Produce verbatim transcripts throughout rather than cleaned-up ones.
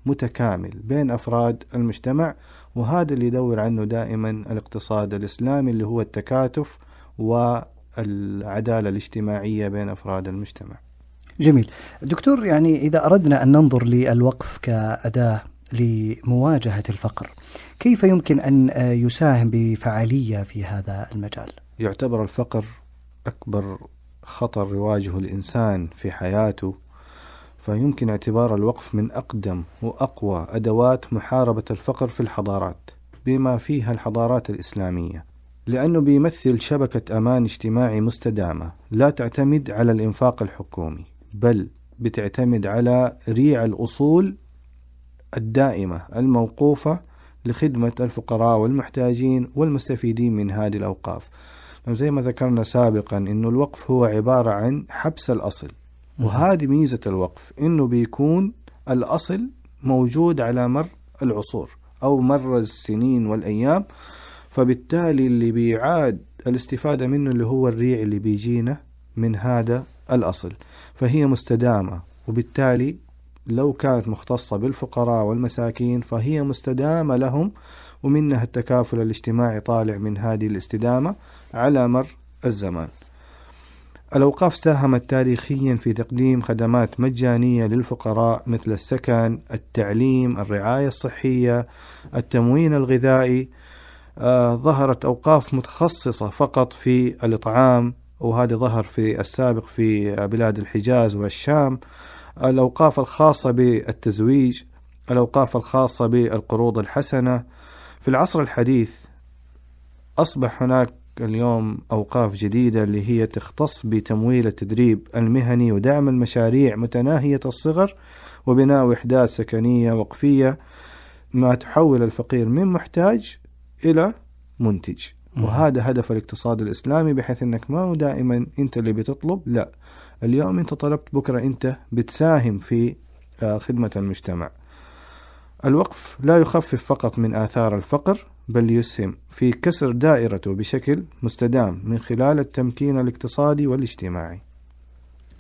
متكامل بين أفراد المجتمع، وهذا اللي يدور عنه دائما الاقتصاد الإسلامي، اللي هو التكاتف والعدالة الاجتماعية بين أفراد المجتمع. جميل دكتور، يعني إذا أردنا أن ننظر للوقف كأداة لمواجهة الفقر، كيف يمكن أن يساهم بفعالية في هذا المجال؟ يعتبر الفقر أكبر خطر يواجه الإنسان في حياته، فيمكن اعتبار الوقف من أقدم وأقوى أدوات محاربة الفقر في الحضارات بما فيها الحضارات الإسلامية، لأنه بيمثل شبكة أمان اجتماعي مستدامة لا تعتمد على الإنفاق الحكومي، بل بتعتمد على ريع الأصول الدائمة الموقوفة لخدمة الفقراء والمحتاجين والمستفيدين من هذه الأوقاف. زي ما ذكرنا سابقا إنه الوقف هو عبارة عن حبس الأصل، وهذه ميزة الوقف إنه بيكون الأصل موجود على مر العصور أو مر السنين والأيام، فبالتالي اللي بيعاد الاستفادة منه اللي هو الريع اللي بيجينا من هذا الأصل، فهي مستدامة، وبالتالي لو كانت مختصة بالفقراء والمساكين فهي مستدامة لهم، ومنها التكافل الاجتماعي طالع من هذه الاستدامة على مر الزمان. الأوقاف ساهمت تاريخيا في تقديم خدمات مجانية للفقراء مثل السكن، التعليم، الرعاية الصحية، التموين الغذائي. آه ظهرت أوقاف متخصصة فقط في الإطعام، وهذا ظهر في السابق في بلاد الحجاز والشام. الأوقاف الخاصة بالتزويج، الأوقاف الخاصة بالقروض الحسنة. في العصر الحديث أصبح هناك اليوم أوقاف جديدة اللي هي تختص بتمويل التدريب المهني ودعم المشاريع متناهية الصغر وبناء وحدات سكنية وقفية، ما تحول الفقير من محتاج إلى منتج. وهذا هدف الاقتصاد الإسلامي، بحيث أنك ما هو دائما أنت اللي بتطلب، لا، اليوم أنت طلبت بكرة أنت بتساهم في خدمة المجتمع. الوقف لا يخفف فقط من آثار الفقر، بل يسهم في كسر دائرته بشكل مستدام من خلال التمكين الاقتصادي والاجتماعي.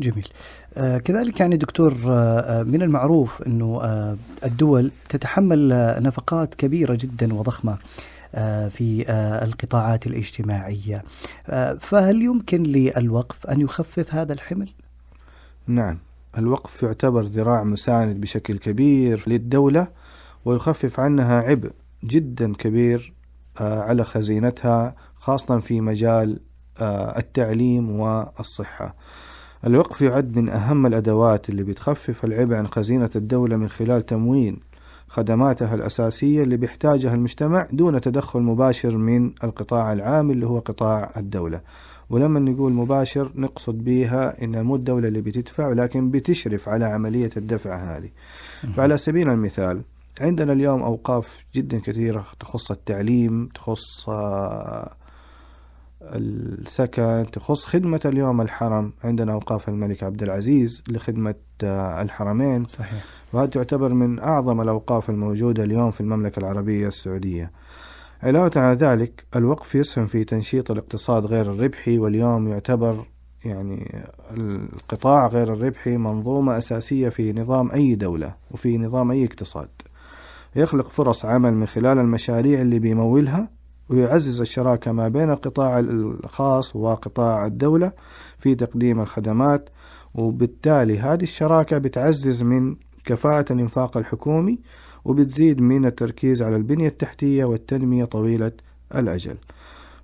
جميل. آه كذلك يعني دكتور، آه من المعروف أنه آه الدول تتحمل آه نفقات كبيرة جدا وضخمة آه في آه القطاعات الاجتماعية، آه فهل يمكن للوقف أن يخفف هذا الحمل؟ نعم، الوقف يعتبر ذراع مساند بشكل كبير للدولة، ويخفف عنها عبء جدا كبير على خزينتها، خاصة في مجال التعليم والصحة. الوقف يعد من أهم الأدوات اللي بتخفف العبء عن خزينة الدولة من خلال تموين خدماتها الأساسية اللي بيحتاجها المجتمع دون تدخل مباشر من القطاع العام اللي هو قطاع الدولة. ولما نقول مباشر نقصد بها إن مو الدولة اللي بتدفع، ولكن بتشرف على عملية الدفع هذه. فعلى سبيل المثال عندنا اليوم أوقاف جدا كثيرة تخص التعليم، تخص السكن، تخص خدمة اليوم الحرم. عندنا أوقاف الملك عبد العزيز لخدمة الحرمين. صحيح. وهذا تعتبر من أعظم الأوقاف الموجودة اليوم في المملكة العربية السعودية. علاوة على ذلك الوقف يسهم في تنشيط الاقتصاد غير الربحي، واليوم يعتبر يعني القطاع غير الربحي منظومة أساسية في نظام أي دولة وفي نظام أي اقتصاد. يخلق فرص عمل من خلال المشاريع اللي بيمولها، ويعزز الشراكة ما بين القطاع الخاص وقطاع الدولة في تقديم الخدمات، وبالتالي هذه الشراكة بتعزز من كفاءة الإنفاق الحكومي، وبتزيد من التركيز على البنية التحتية والتنمية طويلة الأجل.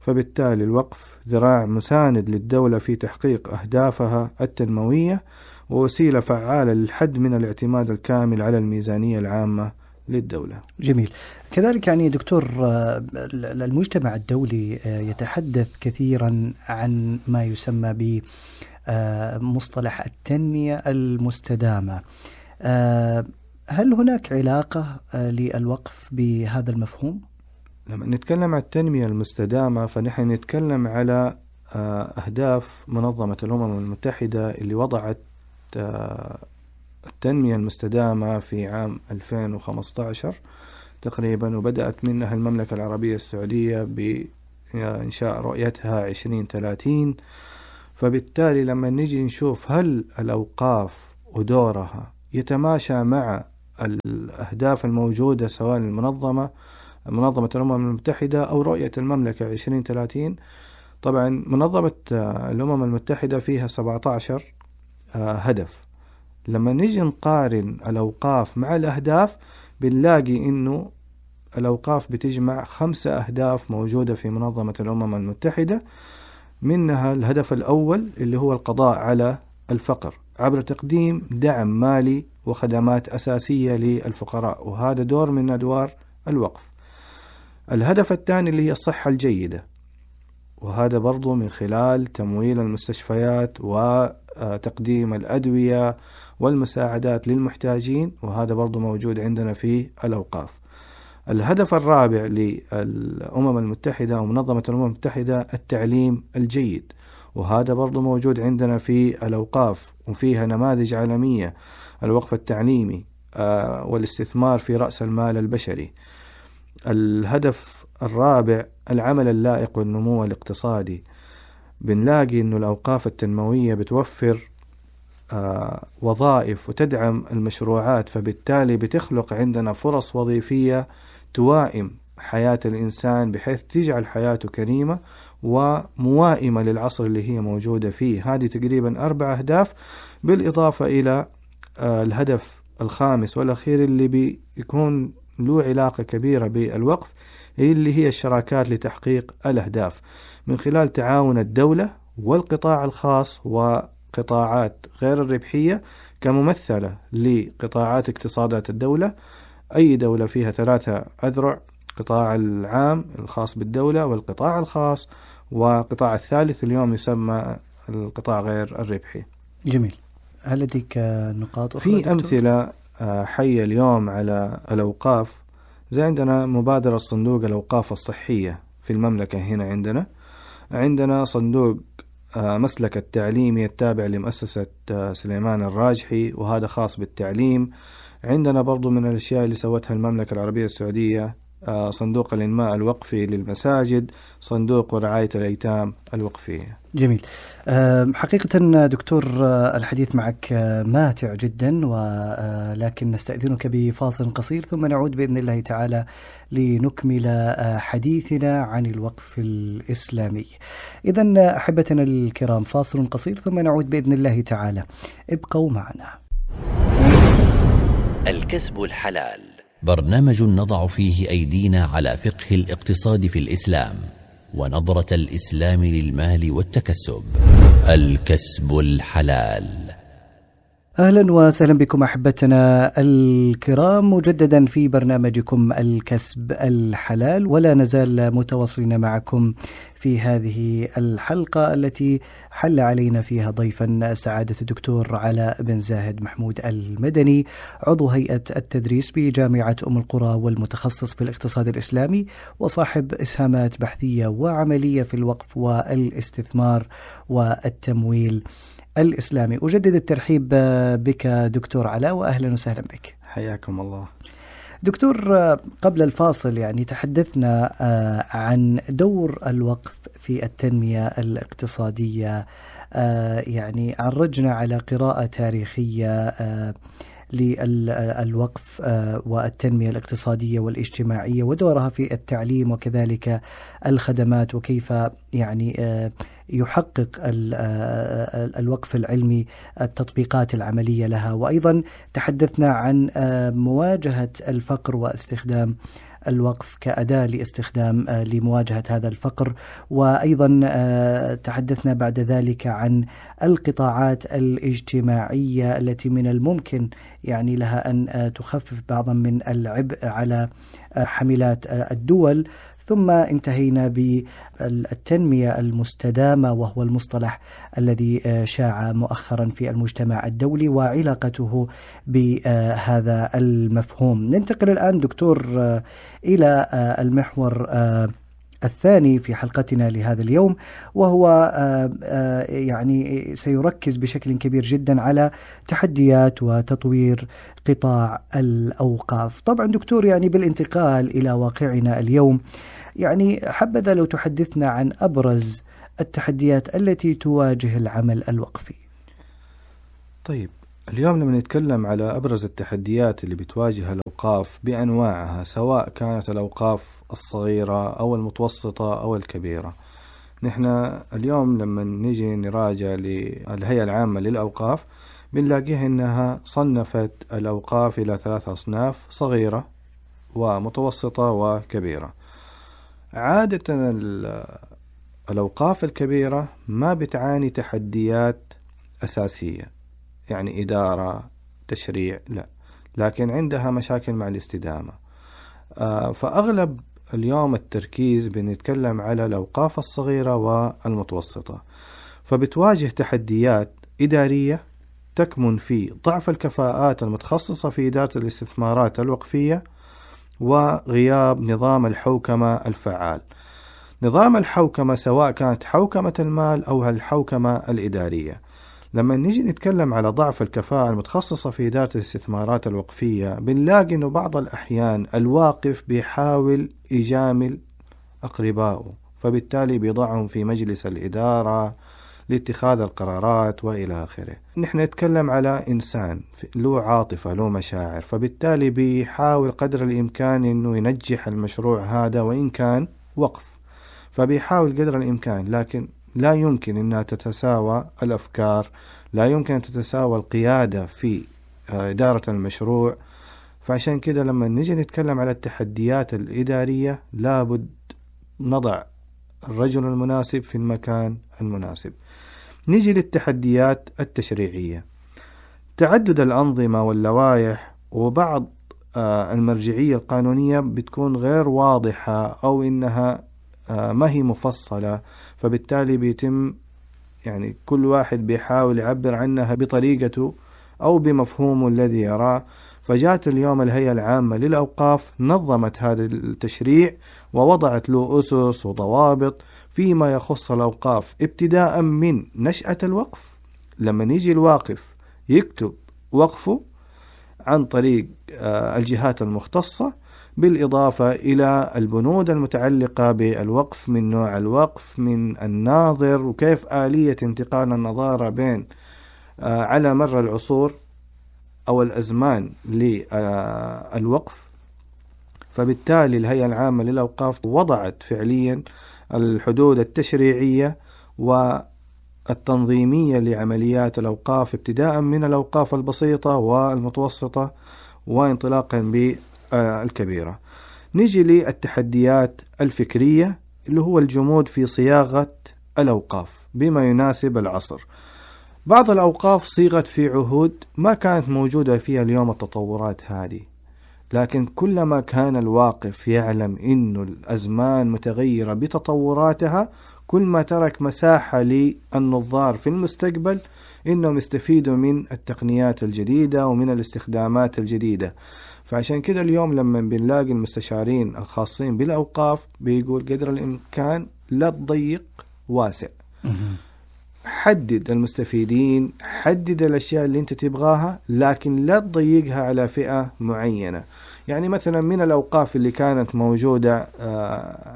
فبالتالي الوقف ذراع مساند للدولة في تحقيق أهدافها التنموية، ووسيلة فعالة للحد من الاعتماد الكامل على الميزانية العامة للدولة. جميل. كذلك يعني دكتور، المجتمع الدولي يتحدث كثيرا عن ما يسمى بمصطلح التنمية المستدامة. هل هناك علاقة للوقف بهذا المفهوم؟ لما نتكلم عن التنمية المستدامة فنحن نتكلم على أهداف منظمة الأمم المتحدة اللي وضعت التنمية المستدامة في عام ألفين وخمسة عشر تقريبا، وبدأت منها المملكة العربية السعودية بإنشاء رؤيتها عشرين ثلاثين. فبالتالي لما نجي نشوف هل الأوقاف ودورها يتماشى مع الأهداف الموجودة سواء المنظمة منظمة الأمم المتحدة أو رؤية المملكة عشرين ثلاثين. طبعا منظمة الأمم المتحدة فيها سبعة عشر هدف. لما نيجي نقارن الأوقاف مع الأهداف بنلاقي إنه الأوقاف بتجمع خمسة أهداف موجودة في منظمة الأمم المتحدة، منها الهدف الأول اللي هو القضاء على الفقر عبر تقديم دعم مالي وخدمات أساسية للفقراء، وهذا دور من أدوار الوقف. الهدف الثاني اللي هي الصحة الجيدة، وهذا برضو من خلال تمويل المستشفيات وتقديم الأدوية والمساعدات للمحتاجين، وهذا برضو موجود عندنا في الأوقاف. الهدف الرابع للأمم المتحدة ومنظمة الأمم المتحدة التعليم الجيد، وهذا برضو موجود عندنا في الأوقاف، وفيها نماذج عالمية، الوقف التعليمي والاستثمار في رأس المال البشري. الهدف الرابع العمل اللائق والنمو الاقتصادي، بنلاقي أن الأوقاف التنموية بتوفر آه وظائف وتدعم المشروعات، فبالتالي بتخلق عندنا فرص وظيفية توائم حياة الإنسان بحيث تجعل حياته كريمة وموائمة للعصر اللي هي موجودة فيه. هذه تقريبا أربع أهداف، بالإضافة إلى آه الهدف الخامس والأخير اللي بيكون له علاقة كبيرة بالوقف، اللي هي الشراكات لتحقيق الأهداف من خلال تعاون الدولة والقطاع الخاص وقطاعات غير الربحية كممثلة لقطاعات اقتصادات الدولة. أي دولة فيها ثلاثة أذرع: قطاع العام الخاص بالدولة والقطاع الخاص وقطاع الثالث اليوم يسمى القطاع غير الربحي. جميل. هل لديك نقاط أخرى؟ في أمثلة حية اليوم على الأوقاف، زي عندنا مبادرة صندوق الأوقاف الصحية في المملكة. هنا عندنا عندنا صندوق مسلك التعليمي التابع لمؤسسة سليمان الراجحي، وهذا خاص بالتعليم. عندنا برضو من الأشياء اللي سوتها المملكة العربية السعودية صندوق الإنماء الوقفي للمساجد، صندوق ورعاية الأيتام الوقفية. جميل. حقيقة دكتور الحديث معك ماتع جدا، ولكن نستأذنك بفاصل قصير ثم نعود بإذن الله تعالى لنكمل حديثنا عن الوقف الإسلامي. إذن أحبتنا الكرام، فاصل قصير ثم نعود بإذن الله تعالى، ابقوا معنا. الكسب الحلال، برنامج نضع فيه أيدينا على فقه الاقتصاد في الإسلام ونظرة الإسلام للمال والتكسب. الكسب الحلال. أهلا وسهلا بكم أحبتنا الكرام مجددا في برنامجكم الكسب الحلال، ولا نزال متواصلين معكم في هذه الحلقة التي حل علينا فيها ضيفا سعادة الدكتور علاء بن زاهد محمود المدني، عضو هيئة التدريس بجامعة أم القرى والمتخصص في الاقتصاد الإسلامي وصاحب إسهامات بحثية وعملية في الوقف والاستثمار والتمويل الإسلامي. أجدد الترحيب بك دكتور علاء، وأهلا وسهلا بك. حياكم الله دكتور. قبل الفاصل يعني تحدثنا عن دور الوقف في التنمية الاقتصادية، يعني عرجنا على قراءة تاريخية للوقف والتنمية الاقتصادية والاجتماعية ودورها في التعليم وكذلك الخدمات، وكيف يعني يحقق الوقف العلمي التطبيقات العملية لها. وأيضا تحدثنا عن مواجهة الفقر واستخدام الوقف كأداة لاستخدام لمواجهة هذا الفقر، وأيضا تحدثنا بعد ذلك عن القطاعات الاجتماعية التي من الممكن يعني لها أن تخفف بعضا من العبء على حملات الدول. ثم انتهينا بالتنمية المستدامة، وهو المصطلح الذي شاع مؤخرا في المجتمع الدولي وعلاقته بهذا المفهوم. ننتقل الآن دكتور إلى المحور الثاني في حلقتنا لهذا اليوم، وهو يعني سيركز بشكل كبير جدا على تحديات وتطوير قطاع الأوقاف. طبعا دكتور، يعني بالانتقال إلى واقعنا اليوم، يعني حبذا لو تحدثنا عن أبرز التحديات التي تواجه العمل الوقفي. طيب، اليوم لما نتكلم على أبرز التحديات اللي بتواجه الأوقاف بأنواعها، سواء كانت الأوقاف الصغيرة أو المتوسطة أو الكبيرة، نحن اليوم لما نيجي نراجع للهيئة العامة للأوقاف بنلاقيها إنها صنفت الأوقاف إلى ثلاث أصناف: صغيرة ومتوسطة وكبيرة. عادة الأوقاف الكبيرة ما بتعاني تحديات أساسية، يعني إدارة، تشريع، لا، لكن عندها مشاكل مع الاستدامة. فأغلب اليوم التركيز بنتكلم على الأوقاف الصغيرة والمتوسطة، فبتواجه تحديات إدارية تكمن في ضعف الكفاءات المتخصصة في إدارة الاستثمارات الوقفية وغياب نظام الحوكمة الفعال. نظام الحوكمة سواء كانت حوكمة المال أو الحوكمة الإدارية. لما نيجي نتكلم على ضعف الكفاءة المتخصصة في إدارة الاستثمارات الوقفية، بنلاقي إنه بعض الأحيان الواقف بيحاول يجامل أقربائه، فبالتالي بيضعهم في مجلس الإدارة لاتخاذ القرارات وإلى آخره. نحن نتكلم على إنسان له عاطفة، له مشاعر، فبالتالي بيحاول قدر الإمكان إنه ينجح المشروع هذا وإن كان وقف، فبيحاول قدر الإمكان، لكن لا يمكن أنها تتساوى الأفكار، لا يمكن أن تتساوى القيادة في إدارة المشروع. فعشان كده لما نيجي نتكلم على التحديات الإدارية لابد نضع الرجل المناسب في المكان المناسب. نيجي للتحديات التشريعية: تعدد الأنظمة واللوائح وبعض المرجعية القانونية بتكون غير واضحة أو إنها ما هي مفصلة، فبالتالي بيتم يعني كل واحد بيحاول يعبر عنها بطريقته أو بمفهومه الذي يراه. فجاءت اليوم الهيئة العامة للأوقاف نظمت هذا التشريع ووضعت له أسس وضوابط فيما يخص الأوقاف، ابتداء من نشأة الوقف، لما يجي الواقف يكتب وقفه عن طريق الجهات المختصة، بالإضافة إلى البنود المتعلقة بالوقف، من نوع الوقف، من الناظر، وكيف آلية انتقال النظارة بين على مر العصور أو الأزمان للوقف. فبالتالي الهيئة العامة للأوقاف وضعت فعليا الحدود التشريعية والتنظيمية لعمليات الأوقاف، ابتداء من الأوقاف البسيطة والمتوسطة وانطلاقا بالكبيرة. نيجي للتحديات الفكرية اللي هو الجمود في صياغة الأوقاف بما يناسب العصر. بعض الأوقاف صيغت في عهود ما كانت موجودة فيها اليوم التطورات هذه، لكن كلما كان الواقف يعلم إنه الأزمان متغيرة بتطوراتها، كل ما ترك مساحة للنظار في المستقبل إنهم يستفيدوا من التقنيات الجديدة ومن الاستخدامات الجديدة. فعشان كده اليوم لما بنلاقي المستشارين الخاصين بالأوقاف بيقول قدر الإمكان لا تضيق واسع، حدد المستفيدين، حدد الأشياء اللي أنت تبغاها، لكن لا تضيقها على فئة معينة. يعني مثلا من الأوقاف اللي كانت موجودة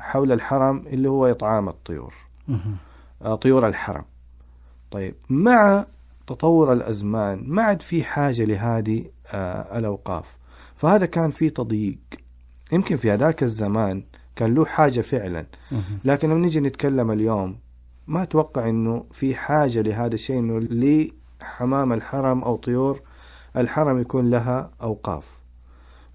حول الحرم اللي هو إطعام الطيور، طيور الحرم. طيب مع تطور الأزمان ما عاد في حاجة لهذه الأوقاف، فهذا كان في تضييق. يمكن في هذاك الزمان كان له حاجة فعلا، لكن لما نيجي نتكلم اليوم ما أتوقع إنه في حاجة لهذا الشيء، إنه لحمام الحرم أو طيور الحرم يكون لها أوقاف.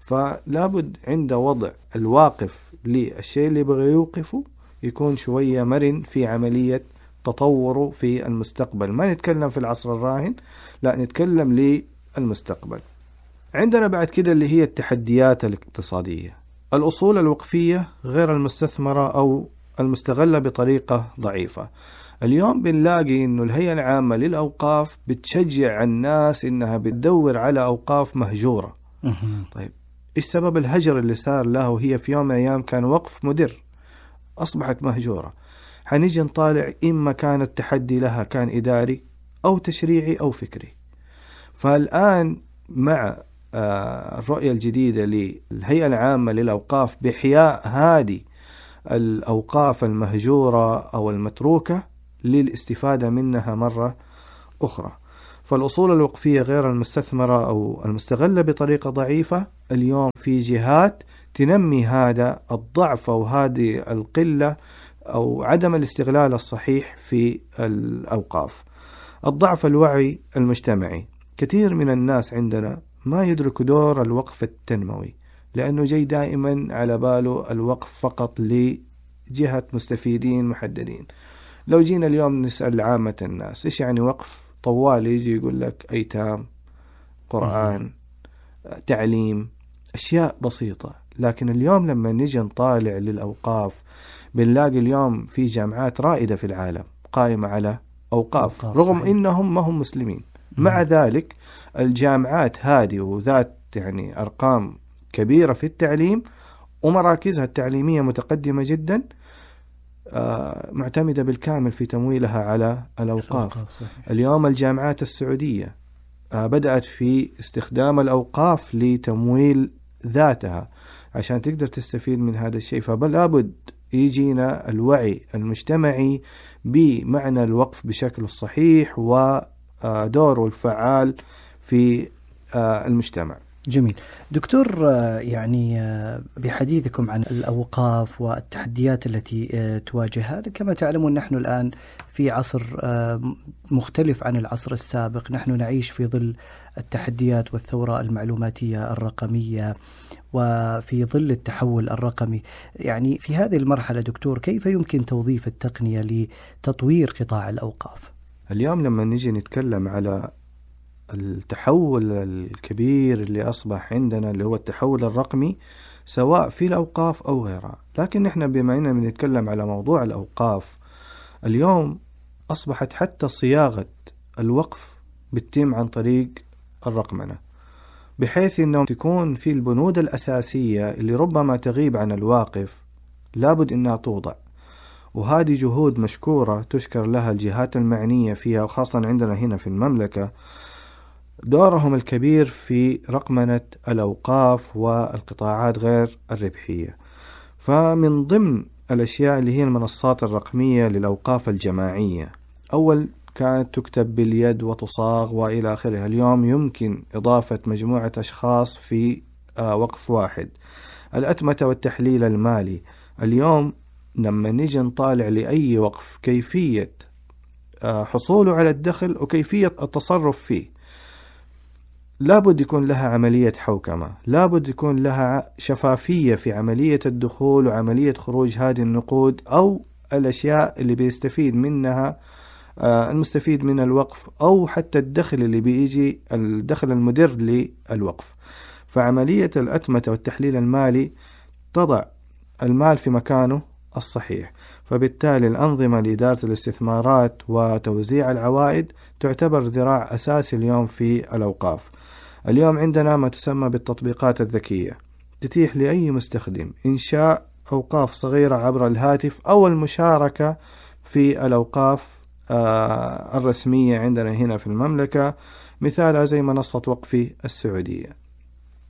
فلابد عند وضع الواقف للشيء اللي بغي يوقفه يكون شوية مرن في عملية تطوره في المستقبل. ما نتكلم في العصر الراهن، لا، نتكلم للمستقبل. عندنا بعد كده اللي هي التحديات الاقتصادية: الأصول الوقفية غير المستثمرة أو المستغلة بطريقة ضعيفة. اليوم بنلاقي إنه الهيئة العامة للأوقاف بتشجع الناس إنها بتدور على أوقاف مهجورة. طيب إيش سبب الهجر اللي صار له؟ هي في يوم من الأيام كان وقف مدر، أصبحت مهجورة. حنيجي نطالع إما كان التحدي لها كان إداري أو تشريعي أو فكري. فالآن مع الرؤية الجديدة للهيئة العامة للأوقاف بإحياء هذه الأوقاف المهجورة أو المتروكة للاستفادة منها مرة أخرى، فالأصول الوقفية غير المستثمرة أو المستغلة بطريقة ضعيفة اليوم في جهات تنمي هذا الضعف أو هذه القلة أو عدم الاستغلال الصحيح في الأوقاف. الضعف الوعي المجتمعي، كثير من الناس عندنا ما يدرك دور الوقف التنموي، لأنه جاي دائما على باله الوقف فقط لجهة مستفيدين محددين. لو جينا اليوم نسأل عامة الناس إيش يعني وقف، طوال يجي يقول لك أيتام، قرآن، تعليم، أشياء بسيطة. لكن اليوم لما نجي نطالع للأوقاف بنلاقي اليوم في جامعات رائدة في العالم قائمة على أوقاف، أوقاف رغم صحيح. إنهم ما هم مسلمين. مع ذلك الجامعات هذه وذات يعني أرقام كبيرة في التعليم ومراكزها التعليمية متقدمة جدا، آه معتمدة بالكامل في تمويلها على الأوقاف. اليوم الجامعات السعودية آه بدأت في استخدام الأوقاف لتمويل ذاتها عشان تقدر تستفيد من هذا الشيء. فبلا بد يجينا الوعي المجتمعي بمعنى الوقف بشكل الصحيح ودوره الفعال في المجتمع. جميل دكتور، يعني بحديثكم عن الأوقاف والتحديات التي تواجهها، كما تعلمون نحن الآن في عصر مختلف عن العصر السابق، نحن نعيش في ظل التحديات والثورة المعلوماتية الرقمية وفي ظل التحول الرقمي. يعني في هذه المرحلة دكتور، كيف يمكن توظيف التقنية لتطوير قطاع الأوقاف؟ اليوم لما نجي نتكلم على التحول الكبير اللي أصبح عندنا اللي هو التحول الرقمي سواء في الأوقاف أو غيرها، لكن نحن بما أننا بنتكلم على موضوع الأوقاف اليوم أصبحت حتى صياغة الوقف بتتم عن طريق الرقمنة، بحيث أنه تكون في البنود الأساسية اللي ربما تغيب عن الواقف لابد أنها توضع. وهذه جهود مشكورة تشكر لها الجهات المعنية فيها، وخاصة عندنا هنا في المملكة دورهم الكبير في رقمنة الأوقاف والقطاعات غير الربحية. فمن ضمن الأشياء اللي هي المنصات الرقمية للأوقاف الجماعية، أول كانت تكتب باليد وتصاغ وإلى آخره، اليوم يمكن إضافة مجموعة أشخاص في وقف واحد. الأتمتة والتحليل المالي، اليوم لما نيجي نطالع لأي وقف كيفية حصوله على الدخل وكيفية التصرف فيه، لابد يكون لها عملية حوكمة، لابد يكون لها شفافية في عملية الدخول وعملية خروج هذه النقود أو الأشياء اللي بيستفيد منها المستفيد من الوقف، أو حتى الدخل اللي بيجي الدخل المدر للوقف. فعملية الأتمتة والتحليل المالي تضع المال في مكانه الصحيح، فبالتالي الأنظمة لإدارة الاستثمارات وتوزيع العوائد تعتبر ذراع أساسي اليوم في الأوقاف. اليوم عندنا ما تسمى بالتطبيقات الذكية، تتيح لأي مستخدم إنشاء أوقاف صغيرة عبر الهاتف أو المشاركة في الأوقاف الرسمية عندنا هنا في المملكة. مثالها زي منصة وقفي السعودية،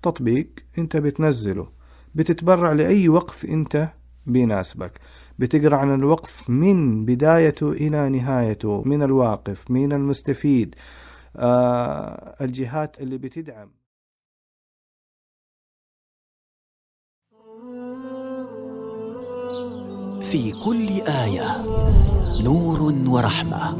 تطبيق أنت بتنزله بتتبرع لأي وقف أنت بيناسبك، بتقرأ عن الوقف من بدايته إلى نهايته، من الواقف، من المستفيد، آه الجهات اللي بتدعم. في كل آية نور ورحمة.